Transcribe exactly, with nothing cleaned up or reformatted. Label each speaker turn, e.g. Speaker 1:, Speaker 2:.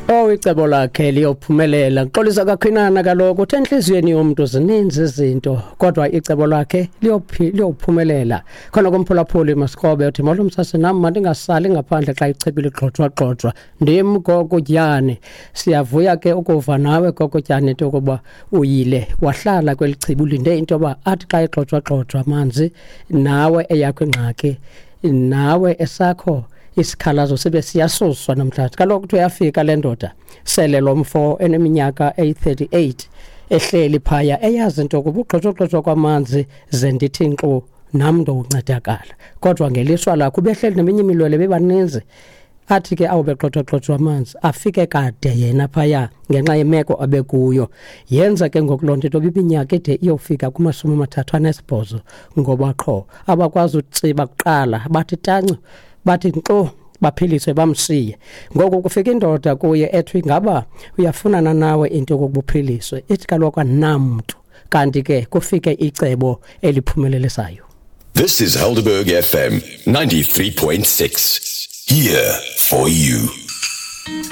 Speaker 1: Oh, icebo lakhe liyophumelela. Xolisa kakhwinana kaloku, uthe entliziyweni yomntu zininzi izinto, kodwa icebo lakhe liyophumelela. Khona komphulaphuli Masikrobe uthi, "Molo msasi, nam mandingasali ngaphandle xa ichibi ligxojwa-gxojwa. Ndim Gogotyane." Siyavuya ke ukuva nawe Gogotyane into yokuba uyile wahlala kweli chibi, ulinde into yoba athi xa egxojwa-gxojwa amanzi, nawe eyakho ingxaki, nawe esakho isikhalazo sibe siyasuswa namhlanje. Kaloku kuthiwa yafika le ndoda sele lo mfo eneminyaka eyi-thirty-eight ehleli phaya, eyazi into yokuba ugxotshogxotshwa kwamanzi ze ndithi nkxu nam ndowuncedakala, kodwa ngelishwa lakho ubehleli neminye imilwele bebaninzi. Athi ke awube gxotshwagxotshwa amanzi, afike kade yena phaya ngenxa yemeko abekuyo. Yenza ke ngoku loo nto into iminyaka ide iyofika kumashumi amathathu anesibhozo, ngoba qho abakwazi utsiba kuqala bathi tancu, bathi nkxu, baphiliswe bamshiye. Ngoku kufika indoda kuye ethi, "Ingaba uyafunana nawe into yokokuba uphiliswe?" Ithi kaloku anamntu, kanti ke kufike icebo eliphumelelisayo.
Speaker 2: This is Helderberg F M ninety-three point six. Here for you.